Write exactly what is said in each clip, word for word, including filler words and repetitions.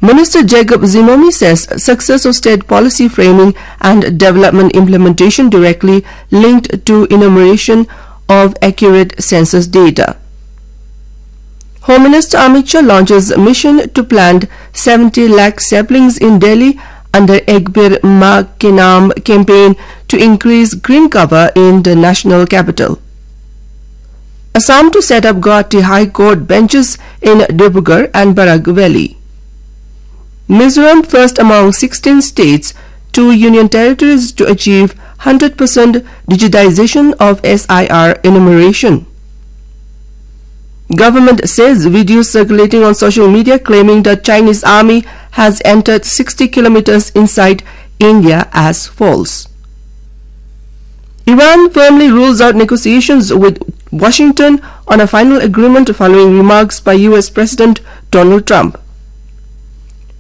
Minister Jacob Zimomi says success of state policy framing and development implementation directly linked to enumeration of accurate census data. Home Minister Amit Shah launches mission to plant seventy lakh saplings in Delhi under Ek Ped Maa Ke Naam campaign to increase green cover in the national capital. Assam to set up Guwahati High Court benches in Dibrugarh and Barak Valley. Mizoram first among sixteen states, two union territories to achieve hundred percent digitization of S I R enumeration. Government says videos circulating on social media claiming that Chinese army has entered sixty kilometers inside India as false. Iran firmly rules out negotiations with Washington on a final agreement following remarks by U S President Donald Trump.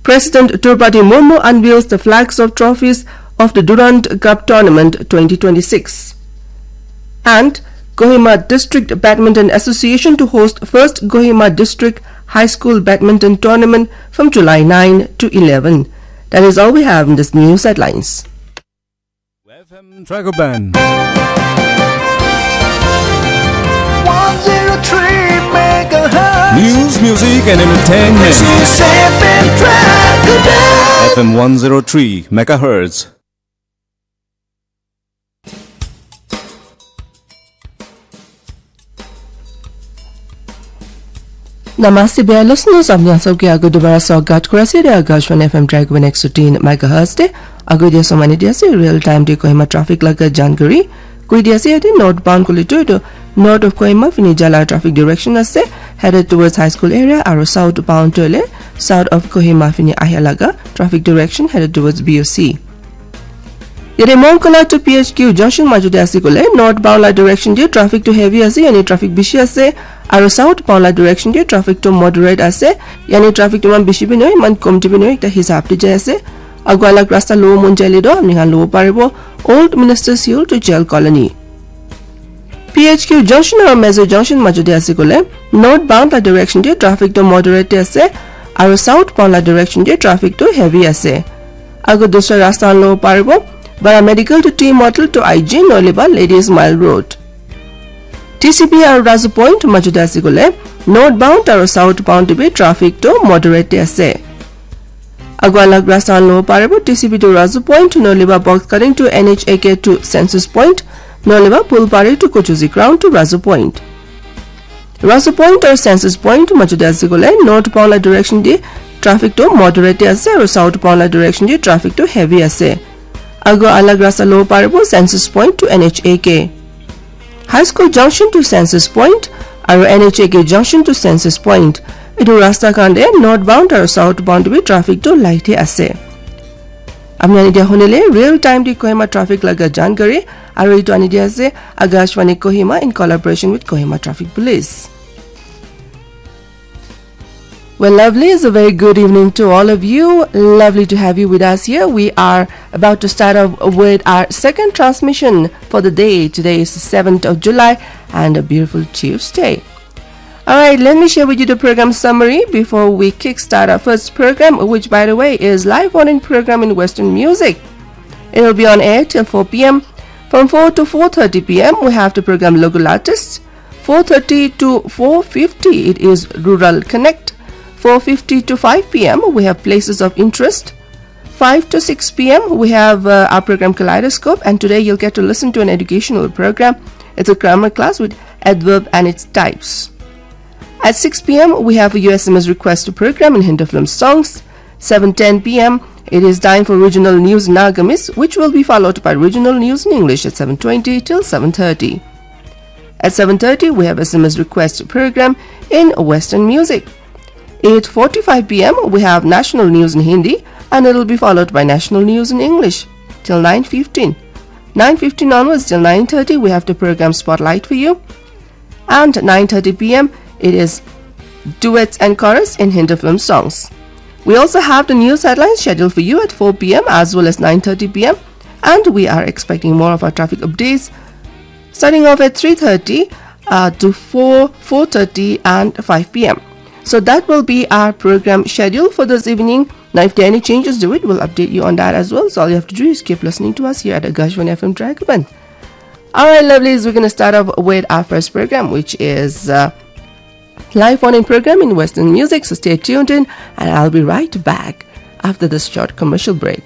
President Droupadi Murmu unveils the flags of trophies of the Durand Cup Tournament twenty twenty-six. And Kohima District Badminton Association to host first Kohima District High School Badminton Tournament from July nine to eleven. That is all we have in this news headlines. F M Dragon Band. One zero three megahertz. News, music, and entertainment. This is F M Dragon Band. F M one zero three megahertz. Namaste, bia listeners. Apni khan sob ke ago dobara swagat kuri ase de Akashvani F M Dragon Band ek sho tin megahertz te. Ago dia somani dia ase real time de Kohima traffic laga jankari. Koi dia ase yate northbound kole tu etu north of Kohima fini jala traffic direction ase, headed towards High School area, aru southbound tu hoile south of Kohima fini ahia laga traffic direction headed towards B O C. Yate Mongkala to P H Q junction majute ase kole northbound la direction te traffic tu heavy ase, yani traffic bishi ase, aru southbound la direction te traffic tu moderate ase, yani traffic tu iman bishi bi nohoi, iman komti bi nohoi, ekta hisab te jai ase. Agualak rasta lobo mon jaile toh apni khan lobo paribo Old Ministers Hill to Jail Colony. P H Q junction aru Mezo junction majute ase kole northbound la direction te traffic tu moderate te ase, aru southbound la direction te traffic tu heavy ase. Ago dusra rasta khan lobo paribo Bara Medical to T Model to I G nohole ba Ladies Mile Road. T C P aru Razu Point majute ase kole northbound aru southbound te bi traffic tu moderate te ase. Ago alag rasta khan lobo paribo T C P to Razu Point nohole ba Box Cutting to N H A K to Census Point nohole ba Pulpari to Kochuzi Ground to Razu Point. Razu Point aru Census Point majute ase kole northbound la direction te traffic tu moderate te ase aru southbound la direction te traffic tu heavy ase. Ago alag rasta lobo paribo Census Point to N H A K. High School Junction to Census Point aru N H A K Junction to Census Point. Etu rasta khan te northbound aru southbound bi traffic tu light he ase. Apni khan etia hunile real time te Kohima traffic laga jankari aru etu ani dia ase Akashvani Kohima in collaboration with Kohima Traffic Police. Well, lovely. It's a very good evening to all of you. Lovely to have you with us here. We are about to start off with our second transmission for the day. Today is the seventh of July and a beautiful Tuesday. All right, let me share with you the program summary before we kickstart our first program, which, by the way, is live morning program in Western music. It will be on air till four p m. From four to four thirty p m, we have the program Local Artists. Four thirty to four fifty, it is Rural Connect. Four fifty to five p m, we have Places of Interest. Five to six p m, we have, uh, our program Kaleidoscope, and today you'll get to listen to an educational program. It's a grammar class with adverb and its types. At six p m, we have a U S M S request program in Hindi film songs. Seven ten p m, it is time for regional news in Nagamese, which will be followed by regional news in English at seven twenty till seven thirty. At seven thirty, we have S M S request program in Western music. Eight forty-five p m, we have national news in Hindi, and it'll be followed by national news in English till nine fifteen. Nine fifteen onwards till nine thirty, we have the program Spotlight for you. And nine thirty p m, it is duets and chorus in Hindi film songs. We also have the news headlines scheduled for you at four p m as well as nine thirty p m, and we are expecting more of our traffic updates starting off at three thirty, uh, to four, four thirty and five p m. So that will be our program schedule for this evening. Now, if there are any changes to it, we'll update you on that as well. So all you have to do is keep listening to us here at Akashvani F M Dragoman. All right, lovelies, we're going to start off with our first program, which is uh, live phone-in program in Western music. So stay tuned in, and I'll be right back after this short commercial break.